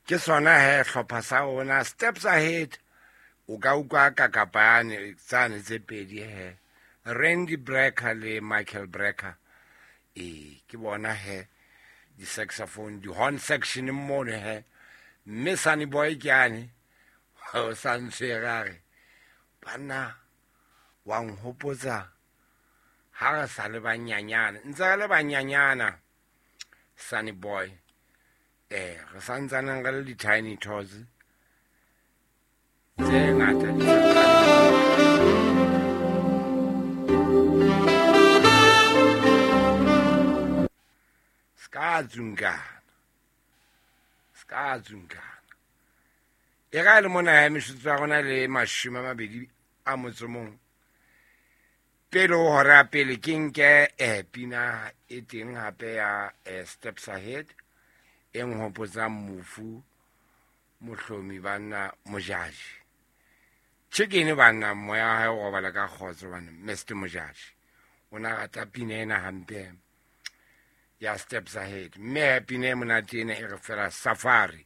Ke sona he hlopha sa rona Steps Ahead. O ka utlwa kakapane tsane tse pedi he, Randy Brecker le Michael Brecker. Ee, ke bona he di-saxophone, di-horn section mono he. Mme Sunny Boy ke ane o sa ntshwere a re, banna wa nhopotsa ha re sa le banyanyana, ntse re le banyanyana Sunny Boy. Re santsaneng re le di-tiny tots tse ngata di ska tsunkana, ska tsunkana. E ga e le mona ya mešutso ya rona le 21 pele ho hora ya pele, ke nke pina e teng hape ya Steps Ahead e nhopotsang mofu Mohlomi banna Mojaji. Chicken banna, moya wa hae o robala ka kgotso banna. Mr Mojaji o na rata pina ena hampe ya Steps Ahead, mme pina e monate ena e re fela Safari.